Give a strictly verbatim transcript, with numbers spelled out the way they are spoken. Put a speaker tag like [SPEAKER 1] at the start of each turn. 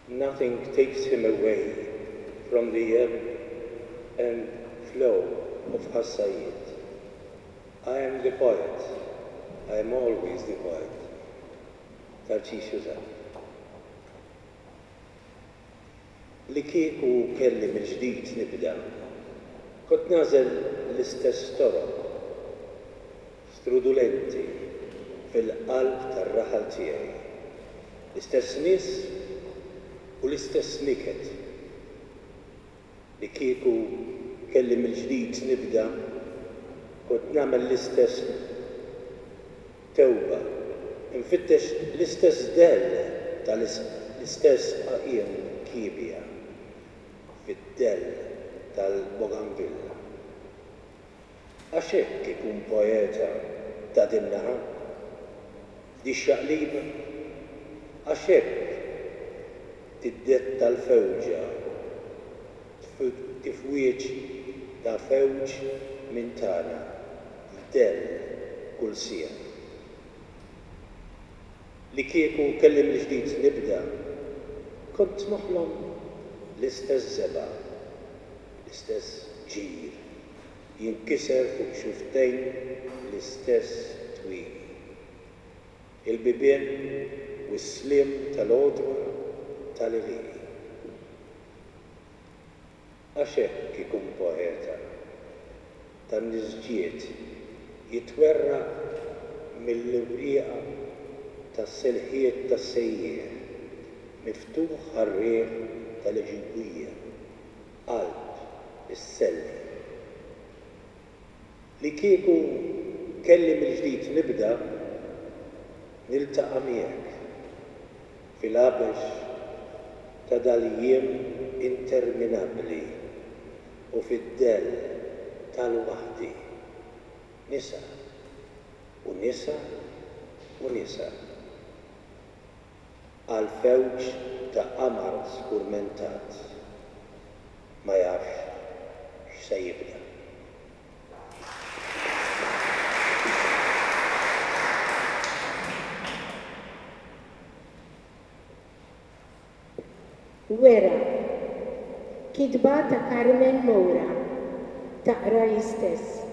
[SPEAKER 1] Nothing takes him away from the ebb and flow of Ħaż Sajjied. I am the poet. I am always the poet. Tarċisju Zahra. Li kieku kelli mill-ġdid nibda, kont nagħżel l-istess toroq strudulenti fil-qalb tar-raħal tiegħi. L-istess nies u l-istess niket. Li kieku kelli mill-ġdid nibda, kont nagħmel l-istess tewba, infittex l-istess dell tal-istess qaqien kiebja fid-dell tal-Bougainville. Għax hekk ikun poeta ta' din-naħa, f'dix-xaqliba, għax hekk tiddetta l-fewġa, tifwieġ ta' fewġ minn tagħna f'dell kull siegħa. Li kieku kelli mill-ġdid nibda, kont noħlom l-istess żebgħa, l-istess ġir, jinkiser fuq xufftejn l-istess twieqi. Il-bibien u s-sliem tal-għodwa tal-għelieqi. Għax hekk ikun poeta tan-nisġiet jitwerraq mill-iwrieqa tas-selħiet tas-sejjieħ, miftuħ għar-riħ tal-għeġuwija, qalb is-selli. Li kieku kelli mill-ġdid nibda, niltaqa' miegħek fil-għabex ta' dal-jiem interminabbli u fid-dell tal-waħdi. Nisa u nisa u nisa. Għal fewġ ta' qamar skurmentat ma jafx x'se jibda.
[SPEAKER 2] Wera. Kitba ta' Carmen Moura. Taqra hi stess.